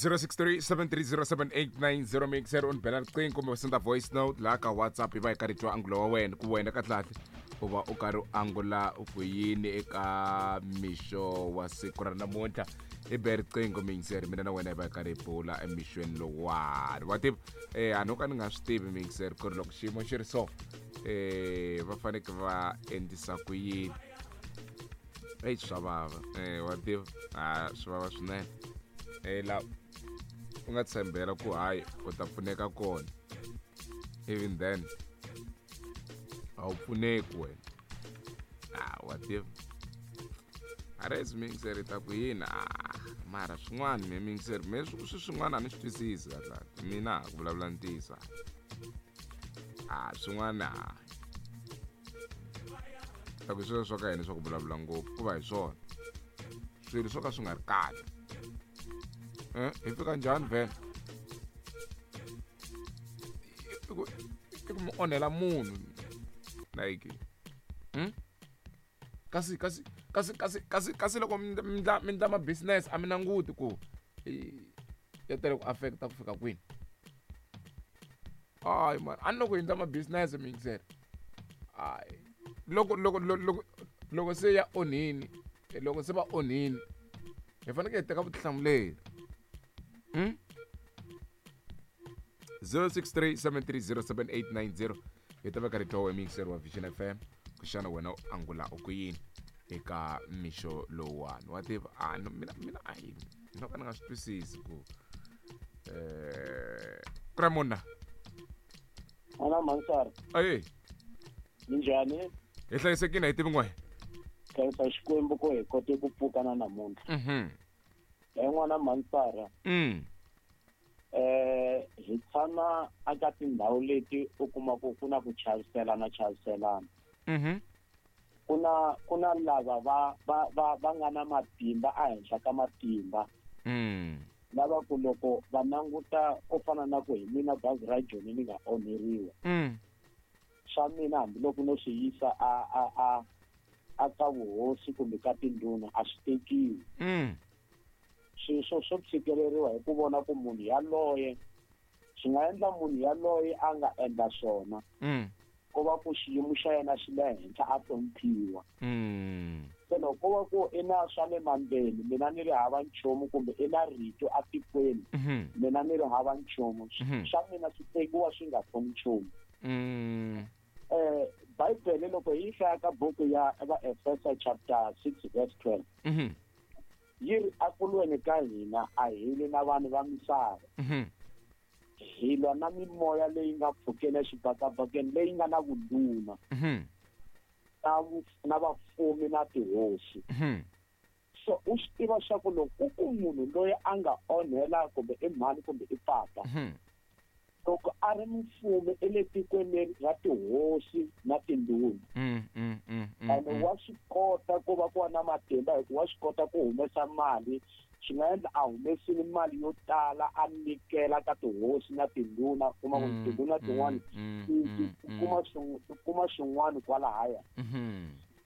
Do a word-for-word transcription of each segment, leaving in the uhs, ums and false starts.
zero six three seven three zero seven eight nine zero mixer u ni bela riqingho kumbe u senda voice note laha ka WhatsApp hi va hi karhi twa angulo wa wena ku wena kahlekahle u va u karhi u angula u ku yini eka mixo wa siku ra namuntlha. Hi be riqingho mixer, mina na wena hi va hi karhi hi bula emixweni lowuwani. Wa tiva eh a no ka ni nga swi tivi mixer ku ri loko xiyimo xi ri so eh va fanekele va endlisa ku yini. Ei swa vava eh wa tiva a swi vava swinene. Eh la u nga tshembela ku hayi u ta pfuneka kona, even then a wu pfuneki wena. Ah wa tiva a ri mixer ta ku yini. Ah mara swin'wana me mixer me swi swin'wana a ni swi twisisi kahle mina ku vulavula ntiyiso. Ah swin'wana ta ku swilo swa ka hina swa ku vulavula ngopfu ku va hi swona swilo swo ka swi nga ri kahle. Eh hi fika njhani vhele i ku i ku mu onhela munhu like hmm kasi kasi kasi kasi kasi kasi loko mi ndla mi ndla ma business a mi languti ku ya tele ku affecta ku fika kwini. Hayi man a ni loko hi ndla ma business mixer hayi loko loko loko loko se ya onhini loko se va onhini hi fanekele hi teka vutihlamuleri. Hmm zero six three seven three zero seven eight nine zero hi ta va karhi twa mixer wa Vision F M ku xana wena u angula u ku yini eka mixo lowuwani. Wa tiva a no mina mina a yi no ka ni nga swi twisisi ku eh Kramona ana mansar ayi minjhani hi hlayisekile hi tivi n'we khensa Xikwembu ku hi kote ku pfuka na namuntlha. Mhm en'wana mansara mm eh hi tshama aka tindhawu leti u kuma ku ku na ku chaviselana chaviselana. Mhm kuna kuna lava va va va va nga na matimba a henhla ka matimba. Mm lava ku loko va languta ku fana na ku hi mina bazi ra Joni ni nga onheriwa. Mm swa mina hambiloko no swi yisa a a a a ka vuhosi kumbe ka tindhuna a swi tekiwi. Mm sweswo swo tshikeleriwa hi ku vona ku munhu yaloye swi nga endla munhu yaloye a nga endla swona mm ku va ku xiyimo xa yena xi le henhla a hloniphiwa. Mm se loko ku va ku i na swa le mandleni mina ni ri hava nchumu kumbe i na rito atikweni mina ni ri hava nchumu swa mina swi tekiwa swi nga pfuni nchumu. Mm eh Bibele loko hi hlaya ka buku ya Vaefesa chapter six verse twelve mhm yi ri akulweni ka hina a hi lwi na vanhu va misava, mhm hi lwa na mimoya leyi nga pfukeni exibakabakeni leyi nga na vundhuna mhm na na vafumi na tihosi. Mhm so u swi tiva swa ku loko ku munhu loyi a nga onhela kumbe i mhani kumbe i papa mhm loko a ri mufumi ele tikweni ra tihosi na tindhuna mm mm mm ene wa swi kota ku va ku va na matimba hikuva wa swi kota ku humesa mali swi nga endla a humesile mali yo tala a nyikela ka tihosi na tindhuna kuma ku tindhuna tin'wana ti kuma ti kuma swin'wana kwalahaya.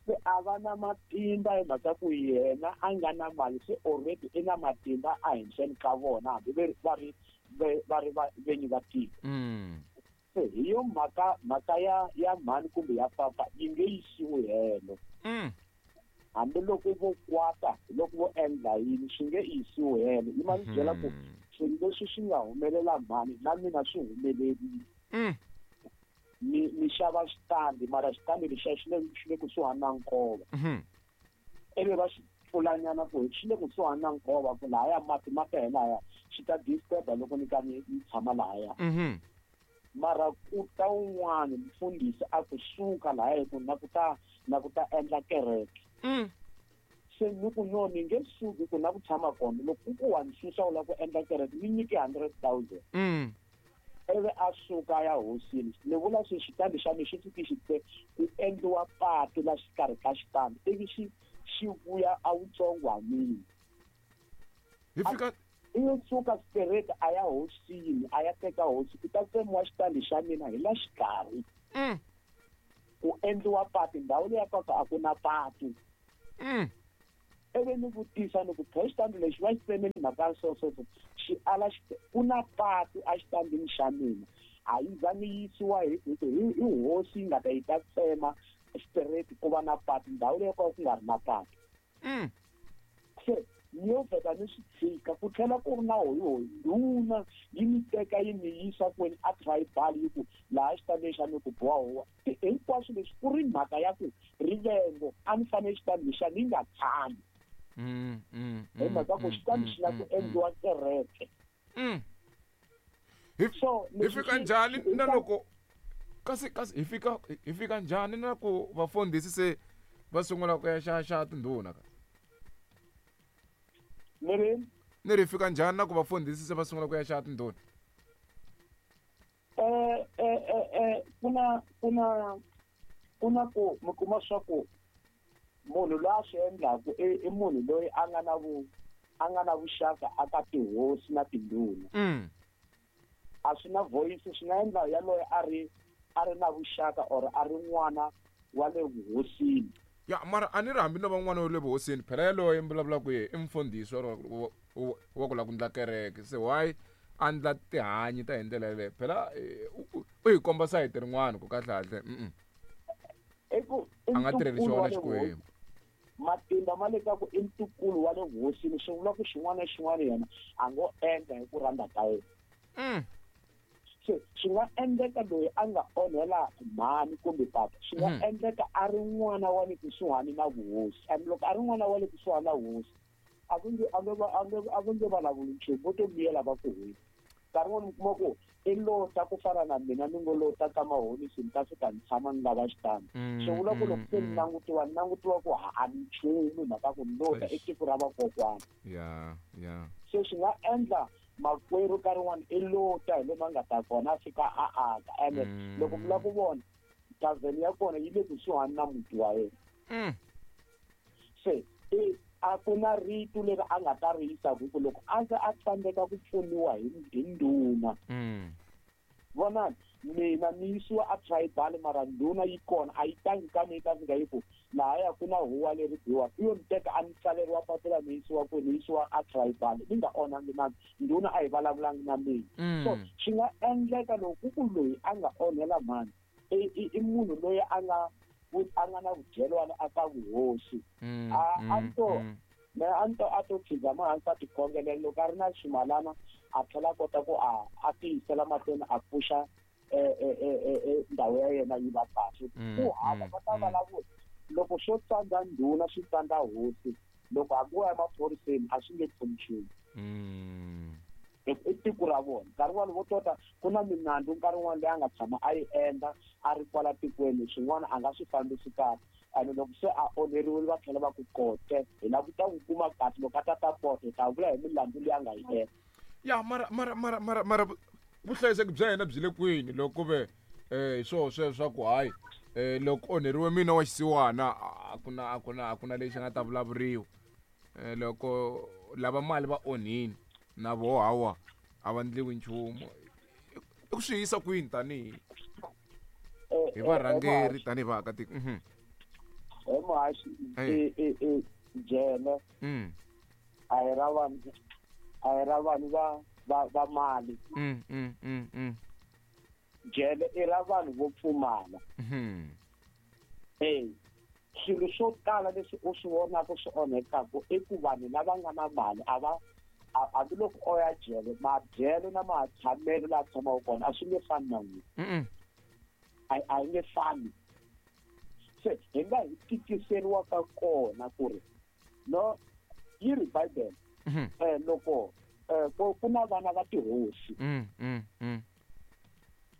Se a va na matimba hi mhaka ku yena a nga na mali se already i na matimba a henhleni ka vona hambi va ri va ri venyi va tiko. Se hi yo mhaka mhaka ya ya mhani kumbe ya papa yi nge yisiwi helo. Hambiloko vo kwata loko vo endla yini swi nge yisiwi helo. Yi ma ni byela ku swilo leswi swi nga humelela mhani na mina swi humelerile. Ni ni xava xitandi mara xitandi lexiya xi le xi le kusuhani na nkova. Ivi va xi pfulanyana ku xi le kusuhani na nkova ku lahaya mati ma ta lahaya xi ta disturb loko ni ka ni tshama lahaya. Mara ku ta un'wana mfundhisi a kusuka lahaya ku na ku ta na ku ta endla kereke. Se ni ku no ni nge suki ku na ku tshama kona loko ku wa ni susa u lava ku endla kereke ni nyike hundred thousand. Ivi a suka ya hosini ni vula swi xitandi xa mina xi fiki xi te ku endliwa patu la xikarhi ka xitandi ivi xi xi vuya a wutsongwanini. Hi fika i yo suka straight a ya hosini a ya teka hosi ku ta tsemiwa xitandi xa mina hi la xikarhi. Ku endliwa patu ndhawu leya patu a ku na patu. Ivi ni vutisa ni ku phe xitandi lexi va xi tsemeni mhaka so so so xi ala ku na patu exitandini xa mina a yi za ni yisiwa hi hi hi hosi yi nga ta yi ta tsema straight ku va na patu ndhawu leyi ko ku nga ri na patu. Se ni yo vheta ni swi tshika ku tlhela ku ri na hoyihoyi ndhuna yi ni teka yi ni yisa kwini a tribal yi ku laha xitandini xa mi ku boha huwa hinkwaswo leswi ku ri mhaka ya ku rivengo a ni fanele xitandi xa ni nga tshami hi mhaka ku xitandi xi lava ku endliwa kereke. So hi fika njhani na loko kasi kasi hi fika hi fika njhani na ku vafundhisi se va sungula ku ya xaxa tindhuna ka ni ni ri fika njhani na ku vafundhisi se va sungula ku ya xaxa tindhuna? Eh eh eh ku na ku na ku na ku mi kuma swa ku munhu loyi a swi endlaku i munhu loyi a nga na vu a nga na vuxaka aka tihosi na tindhuna. A swi na voice swi nga endla yaloye a ri a ri na vuxaka or a ri n'wana wa le vuhosini. Ya mara a ni ri hambi no va n'wana wa le vuhosini phela yaloye mi vulavulaka ye i mfundhisi wa wa ku lava ku ndla kereke se why a ndla tihanyi ta hi ndlela yaleyo phela u hi komba sayiti rin'wana ku kahlekahle a nga tirheli xona Xikwembu. Matimba ma le ka ku i ntukulu wa le vuhosini swi vula ku xin'wana na xin'wana yena a ngo endla hi ku rhandza ka yena. Se swi nga endleka loyi a nga onhela mhani kumbe papa swi nga endleka a ri n'wana wa le kusuhani na vuhosi and loko a ri n'wana wa le kusuhani na vuhosi a ku nge a nge a nge a ku nge vulavuli nchumu vo to miyela va ku hwini. Nkarhi wun'wani mi kuma ku i lota ku fana na mina ni ngo lota ka mahonisi ni ta fika ni tshama ni lava xitandi swi vula ku loko se ni langutiwa ni langutiwa ku a ni nchumu hi mhaka ku ni lota i tiko ra vakokwana. Se swi nga endla makwerhu nkarhi wun'wani i lota hi lomu a nga ta kona a fika a aka ene loko mi lava ku vona tavheni ya kona yi le kusuhani na muti wa yena. Se i a ku na rito leri a nga ta ri yisa ku loko a ze a tsandzeka ku pfuniwa hi hi ndhuna. Vonani mina ni yisiwa a tribal mara ndhuna yi kona a yi tangi ka mina yi ta fika yi ku lahaya ku na huwa leri biwaka i yo ni teka a ni tsaleriwa papila ni yisiwa kwini ni yisiwa a tribal ni nga onhangi na ndhuna a yi vulavulangi na mina. So swi nga endleka loko ku ku loyi a nga onhela mhani i i munhu loyi a nga a nga na vudyelwana aka vuhosi a a to me a to a to tshama hansi a tikhongelela loko a ri na ximalana a tlhela a kota ku a a tiyisela mahlweni a pfuxa ndhawu ya yena yi va kahle. Ku hava va ta vulavula loko swo tsandza ndhuna swi tsandza hosi loko hambi wo ya emaphoriseni a swi nge pfuni nchumu. I tiko ra vona nkarhi wun'wani vo tota ku na minandzu nkarhi wun'wani leyi a nga tshama a yi endla a ri kwala tikweni swin'wana a nga swi fambisi kahle ene loko se a onheriwile va tlhela va ku kote hi lava ku ta ku kuma kahle loko a ta ta kote hi ta vula hi milandzu leyi a nga yi endla. Ya mara mara mara mara mara vuhlayiseki bya yena byi le kwini loko ku ve hi swoho sweswo swa ku hayi loko onheriwe mina wa xisiwana a ku na a ku na a ku na lexi nga ta vulavuriwa loko lava mali va onhini na vo hawa a va ndliwi nchumu i ku swi yisa kwini tanihi hi varhangeri tanihi vaakatiko? He muhaxi i jele a hi ra vanhu a hi ra vanhu va va va mali. Jele i ra vanhu vo pfumala. E swilo swo tala leswi u swi vonaka swi onhekaka i ku vanhu lava nga na mali a va hambiloko o ya jele madyelo na matshamelo laha tshamaka kona a swi nge fani na n'wina a a yi nge fani. Se hi nga hi tikiseriwaka kona ku ri no yi ri Bibele eh loko ku na vana va tihosi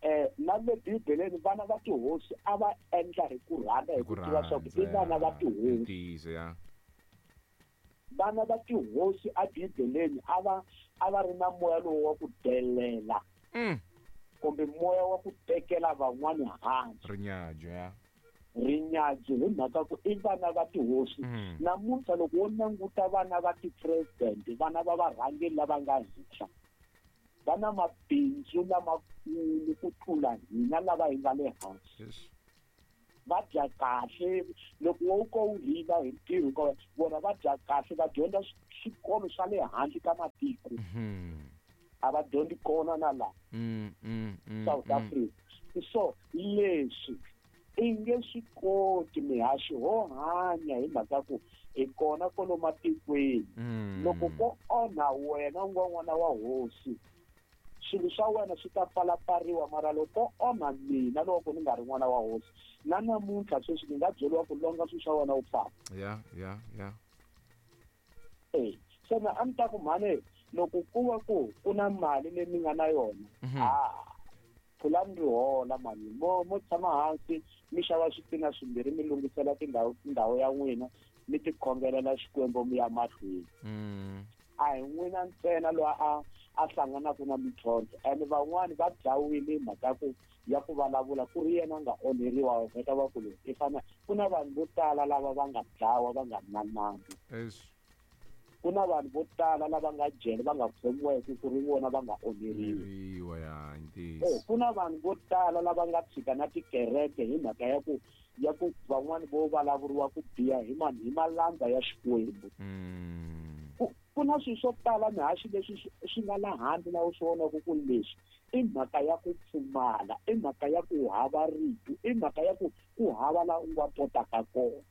eh na le Bibeleni vana va tihosi a va endla hi ku rhandza hi ku tiva swa ku i vana va tihosi. Vana va tihosi a Bibeleni a va a va ri na moya lowu wa ku delela kumbe moya wa ku tekela van'wani hansi rinyadzo ya rinyadzo hi mhaka ku i vana va tihosi. Namuntlha loko wo languta vana va ti-president vana va varhangeri lava nga henhla va na mabindzu lamakulu ku tlula hina lava hi nga le hansi. Va dya kahle loko wo ko u rila hi ntirho ka vona va dya kahle va dyondza swikolo swa le handle ka matiko. A va dyondzi kona na la South Africa. So leswi i nge swi koti mihaxi ho hanya hi mhaka ku hi kona kwalo matikweni. Loko ko onha wena u nga n'wana wa hosi swilo swa wena swi ta pfalapfariwa, mara loko onha mina loko ni nga ri n'wana wa hosi na namuntlha sweswi ni nga byeriwa ku longa swilo swa wena u famba. Ya ya ya eh se na a ni ta ku mhani loko ku va ku ku na mali leyi mi nga na yona a pfulani ri hola mani mo mo tshama hansi mi xava switina swimbirhi mi lunghisela tindhawu tindhawu ya n'wina mi tikhongelela Xikwembu mi ya mahlweni. A hi n'wina ntsena loyi a a hlanganaka na mintlhontlho and van'wani va dlawile hi mhaka ku ya ku vulavula ku ri yena a nga onheriwa vheta va ku loyi i fana ku na vanhu vo tala lava va nga dlawa va nga ri na nandzu. Ku na vanhu vo tala lava nga jele va nga khomiweki ku ri vona va nga onheriwa. Ku na vanhu vo tala lava nga tshika na tikereke hi mhaka ya ku ya ku van'wani vo vulavuriwa ku biha hi mani hi malandza ya Xikwembu. Ku na swilo swo tala mihaxi leswi swi nga la handle na u swi vonaka ku leswi i mhaka ya ku pfumala, i mhaka ya ku hava rito, i mhaka ya ku ku hava la u nga kotaka kona.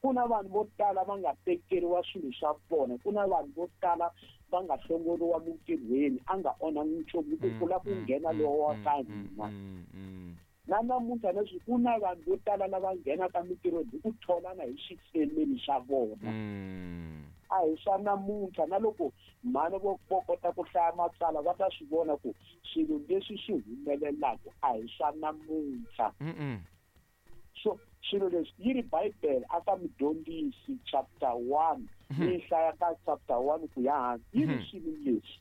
Ku na vanhu vo tala va nga tekeriwa swilo swa vona, ku na vanhu vo tala va nga hlongoriwa mintirhweni a nga onhangi nchumu ku kula ku nghena lowa wa ka hina. Na namuntlha leswi ku na vanhu vo tala lava nghenaka mintirhweni hi ku tholana hi xifemeli xa vona. A hi swa namuntlha na loko mhani vo vo kota ku hlaya matsalwa va ta swi vona ku swilo leswi swi humelelaka a hi swa namuntlha. So swilo leswi yi ri Bibele a ka Mudyondzisi chapter one yi hlaya ka chapter one ku ya hansi yi ri swilo leswi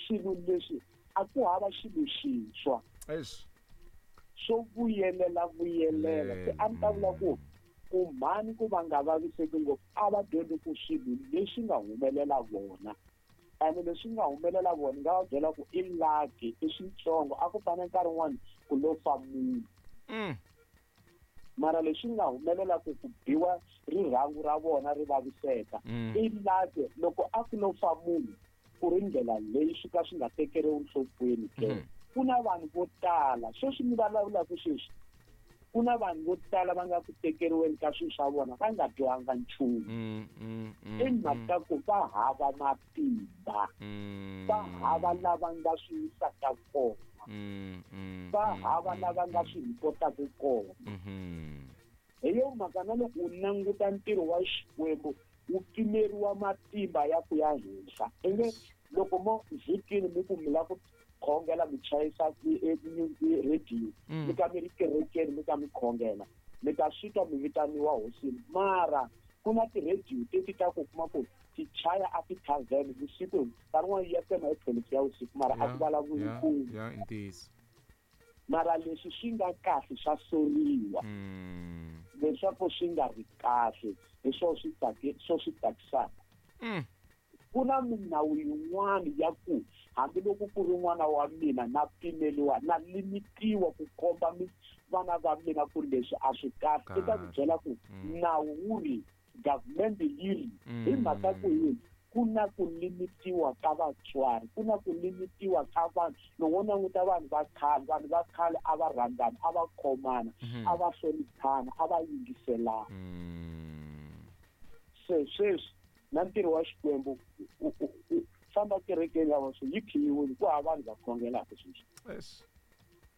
swilo leswi a ku hava xilo xintshwa swo vuyelela vuyelela. Se a ni ta vula ku ku mhani ku va nga vaviseki ngopfu a va dyondzi ku swilo leswi nga humelela vona ene leswi nga humelela vona nga va byela ku i lucky i switsongo a ku fane nkarhi wun'wani ku lo fa munhu. Mara leswi nga humelela ku ku biwa rirhangu ra vona ri vaviseka i lucky loko a ku lo fa munhu ku ri ndlela leyi swi ka swi nga tekeriwi enhlokweni ke. Ku na vanhu vo tala sweswi mi vulavulaka sweswi ku na vanhu vo tala va nga ku tekeriweni ka swilo swa vona va nga dyohanga nchumu. I mhaka ku va hava matimba, va hava lava nga swi yisaka kona, va hava lava nga swi ripotaka kona. Hi yo mhaka na loko u languta ntirho wa Xikwembu wu pimeriwa matimba ya ku ya henhla. Enge loko mo vhikini mi ku mi lava ku khongela mi chayisa radio mi ka mi ri kerekeni mi ka mi khongela mi ta swi twa mi vitaniwa hosini, mara ku na ti-radio teti ta ku kuma ku ti chaya a ti-tavern vusiku nkarhi wun'wana ya tsema hi twelve ya vusiku mara a ku vulavuli nchumu. Mara leswi swi nga kahle swa soriwa leswaku swi nga ri kahle hi swo swi tsaki swo swi tsakisaka. Ku na minawu yin'wana ya ku hambiloko ku ri n'wana wa mina na pimeriwa na limitiwa ku komba vana va mina ku leswi a swi kahle. I ta ku byela ku nawu wu ri government yi ri hi mhaka ku yini ku na ku limitiwa ka vatswari, ku na ku limitiwa ka vanhu. Loko wo languta vanhu va khale, vanhu va khale a va rhandzana, a va khomana, a va hloniphana, a va yingiselana. Se sweswi na ntirho wa Xikwembu famba kerekeni ya vona yi khiyiwile ku hava vanhu va khongelaka sweswi.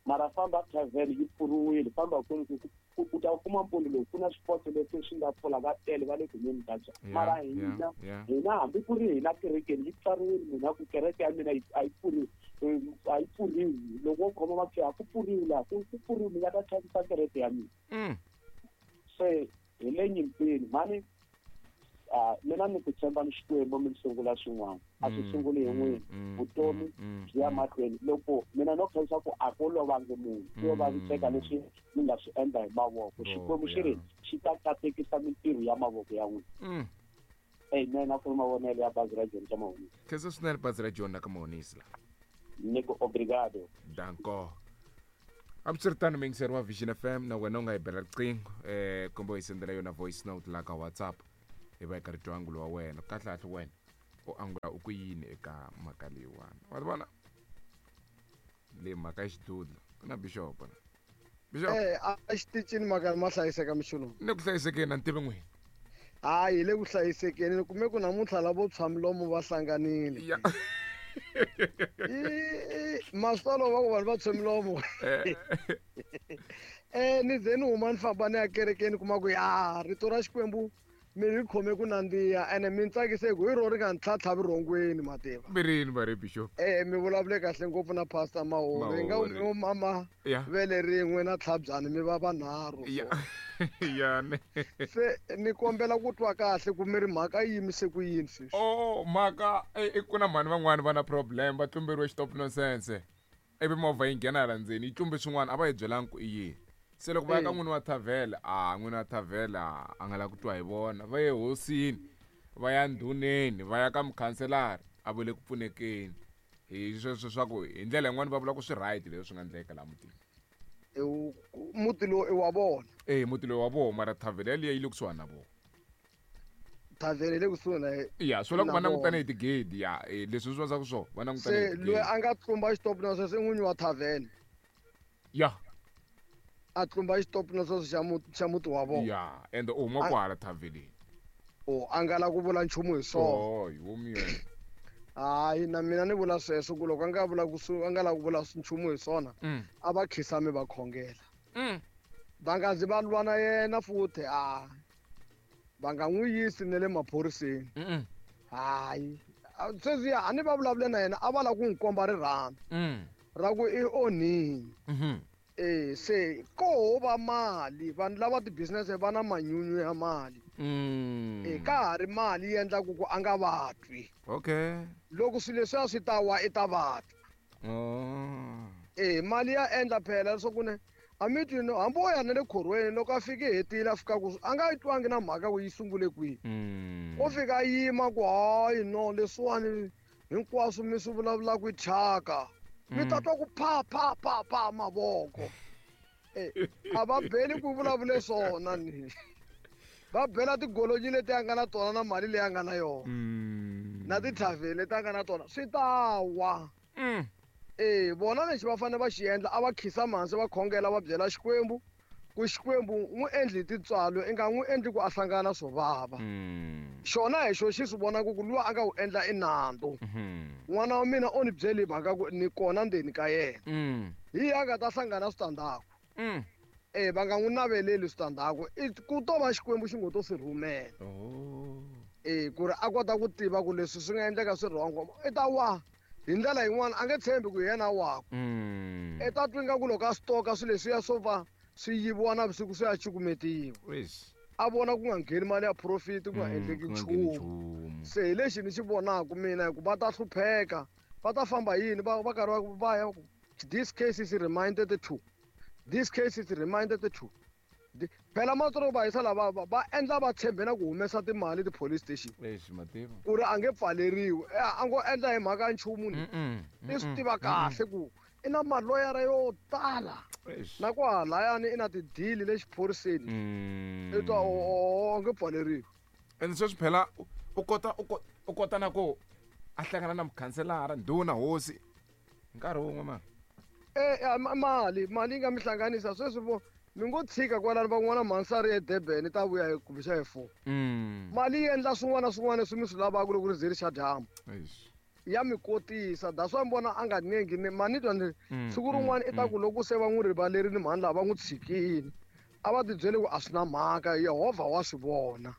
Mara famba tavern yi pfuriwile, famba kwini ku u ta kuma mpfuno lowu ku na swipotso leswi swi nga pfula va tele va le ku nweni ka byona. Mara hina hina hambi ku ri hina kerekeni yi pfariwile, mina ku kereke ya mina a yi pfuriwi a yi pfuriwi loko wo khoma mapfhi a ku pfuriwi laha ku ku pfuriwi mi nga ta thyakisa kereke ya mina. Se hi le nyimpini mhani mina ni ku tshemba ni Xikwembu mi sungula swin'wana a swi sunguli hi n'wina vutomi byi ya mahlweni. Loko mina no khensa ku a ku lovangi munhu ku yo vaviseka leswi mi nga swi endla hi mavoko, Xikwembu xi ri xi ta katekisa mintirho ya mavoko ya n'wina. Amen. A ku ri mavonelo ya bazi ra John ka Mahonisi. Khensa swinene bazi ra John ka Mahonisi la. Ni ku obrigado. Danko. Hambiswiritano muyingiseri wa Vision F M na wena u nga hi bela riqingho eh kumbe u hi sendela yona voice note laha ka WhatsApp hi va hi karhi twa angulo wa wena. Kahlekahle wena u angula u ku yini eka mhaka leyiwani. Wa vona le mhaka ya xidudla ku na bishop la. Bishop eh a xitichini mhaka ma hlayiseka mixulo. Ni ku hlayisekeni a ni tivi n'wina. Hayi le ku hlayisekeni ni kume ku namuntlha lavo tshwa milomo va hlanganile. Ya. Masolo va ku vanhu va tshwe milomo. Eh ni ze ni huma ni famba ni ya kerekeni kuma ku ya rito ra Xikwembu mi ri khome ku nandziha ene mi tsakise hi ku hi ro ri nga ni tlhatlha vurhongweni mativa. Mirini va ri bishop. Eh mi vulavule kahle ngopfu na pastor Mahori nga u mama vele rin'we na tlhabyani mi va vanharhu. Ya. Ya ne. Se ni kombela ku twa kahle ku mi ri mhaka yi yimise ku yini sweswi. Oh mhaka i ku na mhani van'wani va na problem va tlumberiwe xitop nonsense. Ivi movha yi nghena hala ndzeni yi tlumbe swin'wana a va hi byelangi ku i yini. Se loko va ya ka n'wini wa thavhela a n'wini wa thavhela a nga lavi ku twa hi vona va ye hosini va ya ndhuneni va ya ka mukhanselara a vule ku pfunekeni hi sweswo swa ku hi ndlela yin'wani va vula ku swi right leswi swi nga endleka laha mutini. Muti lowu i wa vona. Eh muti lowu wa vona mara thavhela yaliya yi le kusuhani na vona. Thavhela yi le kusuhi na ya swi vula ku va langutane hi tigedi ya leswi swi va ku swona va langutane hi tigedi. Se loyi a nga tlumba xitopu na sweswo i n'winyi wa thavhela. Ya. A tlumba xitopu na sweswo xa muti xa muti wa vona. Ya ende u huma kwala thavheleni. O a nga la ku vula nchumu hi swona. Oh hi vomi yena. Hayi na mina ni vula sweswo ku loko a nga vula ku a nga la ku vula nchumu hi swona a va khisami va khongela. Va nga zi va lwa na yena futhi a va nga n'wi yisi ne le maphoriseni. Hayi sweswi a ni va vulavule na yena a va lava ku n'wi komba rirhandzu ra ku i onhile. Eh se ko va mali vanhu lava ti-business va na manyunyu ya mali. Eh ka ha ri mali yi endlaku ku a nga va twi. Okay. Loko swilo leswiya swi ta wa i ta va twa. Oh. Eh mali ya endla phela leswaku ne a mi twi no hambi wo ya na le khorweni loko a fike hetile a fika ku a nga yi twangi na mhaka ku yi sungule kwihi. O fika a yima ku hayi no leswiwani hinkwaswo mi swi vulavulaka i thyaka. Mi ta twa ku pa pa pa pa mavoko. Eh a va beli ku vulavule swona ni. Va bela tigolonyi leti a nga na tona na mali leyi a nga na yona. Na tithavhele leti a nga na tona swi ta wa. Eh vona lexi va fanele va xi endla a va khisa hansi va khongela va byela Xikwembu ku Xikwembu n'wi endli tintswalo i nga n'wi endli ku a hlangana swo vava. Xona hi xo xi swi vonaka ku luwa a nga wu endla i nandzu. N'wana wa mina o ni byeli mhaka ku ni kona ndzeni ka yena. Hi a nga ta hlangana switandzhaku. Eh va nga n'wi naveleli switandzhaku ku to va Xikwembu xi ngo to swi rhumela. Eh ku ri a kota ku tiva ku leswi swi nga endleka swi wrong i ta wa. Hi ndlela yin'wana a nge tshembi ku hi yena wakwe. I ta twa ingaku loko a swi toka swilo leswiya swo va swi yiviwa navusiku swi ya cukumetiwa. A vona ku nga ngheni mali ya profit ku nga endleki nchumu. Se hi lexi ni xi vonaka mina hi ku va ta hlupheka va ta famba yini va va karhi va va ya this case is reminded to this case is reminded to phela matsoro va yisa lava va endla va tshembe na ku humesa timali ti-police station. Lexi mativa. Ku ri a nge pfaleriwi a ngo endla hi mhaka ya nchumu ni. I swi tiva kahle ku i na maloyara yo tala. Na kwahalayani i na tidili le xiphoriseni. I twa o nge pfaleriwi. Ende sweswi phela u kota u kota na ku a hlangana na mukhanselara ndhuna hosi nkarhi wun'we mara. Eh mali mali yi nga mi hlanganisa sweswi vo mi ngo tshika kwalano van'wana mhansari eDurban ta vuya hi kumbe xa hi four. Mali yi endla swin'wana na swin'wana leswi mi swi lavaka loko ri ze ri xa dyambu. Ya mi kotisa that's why mi vona a nga nengi ni mani twa ni siku rin'wana i ta ku loko se va n'wi rivalerile mhani lava va n'wi tshikile a va tibyele ku a swi na mhaka Yehovha wa swi vona.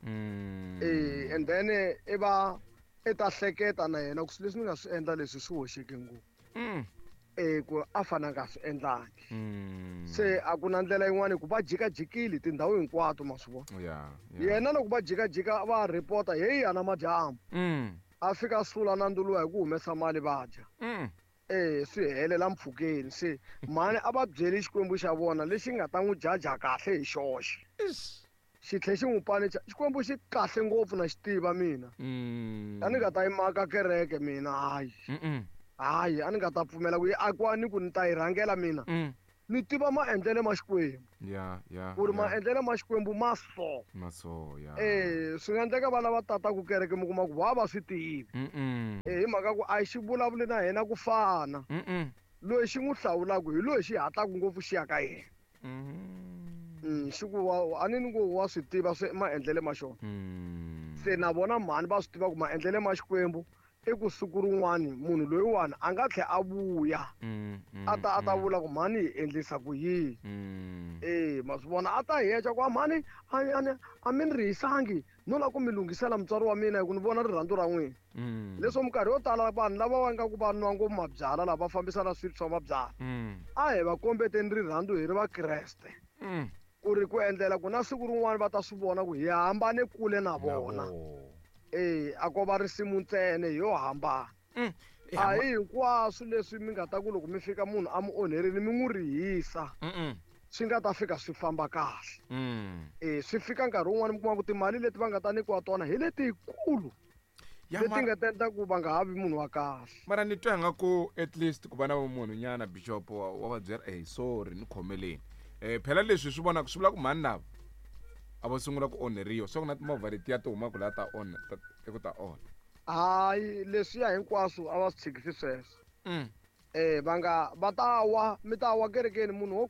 Eh and then i va i ta hleketa na yena ku swilo leswi ni nga swi endla leswi swi hoxeke ngopfu. Eh ku a fana nga swi endlangi. Se a ku na ndlela yin'wana ku va jikajikile tindhawu hinkwato ma swi vona. Yena loko va jikajika va report heyi ana madyambu. A fika sula na nduluwa hi ku humesa mali va dya. Eh swi helela mpfhukeni se mhani a va byeli Xikwembu xa vona lexi nga ta n'wi jaja kahle hi xoxe. Xi tlhe xi n'wi panicha Xikwembu xi kahle ngopfu na xi tiva mina. A ni nga ta yi maka kereke mina hayi. Hayi a ni nga ta pfumela ku yi akiwa ni ku ni ta yi rhangela mina. Ni tiva maendlelo ma Xikwembu. Ya, ya. Ku ri maendlelo ma Xikwembu ma so. Ma so, ya. Eh, swi nga endleka va lava tata ku kereke mi kuma ku va va swi tivi. Mm. Eh, hi mhaka ku a xi vulavuli na hina ku fana. Mm. Loyi xi n'wi hlawulaka hi loyi xi hatlaka ngopfu xi ya ka yena. Mm. Xi ku a ni ni ku wa swi tiva swi maendlelo ma xona. Mm. Se na vona mhani va swi tiva ku maendlelo ma Xikwembu i ku siku rin'wani munhu loyiwani a nga tlhela a vuya a ta a ta vula ku mhani hi endlisa ku yini. Eh, ma swi vona a ta heca ku mhani a a mi ni rihisangi no lava ku mi lunghisela mutswari wa mina hi ku ni vona rirhandzu ra n'wina. Leswo minkarhi yo tala vanhu lava va nga ku va nwa ngopfu mabyalwa lava va fambisana swilo swa mabyalwa a hi va kombeteni rirhandzu hi ri vakreste ku ri ku endlela ku na siku rin'wana va ta swi vona ku hi hambane kule na vona. Eh, a ko va risimu ntsena yo hambana. A hi hinkwaswo leswi mi nga ta ku loko mi fika munhu a mi onherile mi n'wi rihisa swi nga ta fika swi famba kahle. Eh, swi fika nkarhi wun'wani mi kuma ku timali leti va nga ta nyikiwa tona hi letikulu leti nga ta endla ku va nga ha vi munhu wa kahle. Mara ni twa nga ku at least ku va na vumunhu nyana bishop wa va byela eh sorry ni khomeleni. Eh phela leswi swi vonaka swi vula ku mhani lava a va sungula ku onheriwa swa ku na timovha letiya ti humaka laha ta onha i ku ta onha. Hayi leswiya hinkwaswo a va swi tshikisi sweswo. Eh va nga va ta wa mi ta wa kerekeni munhu wo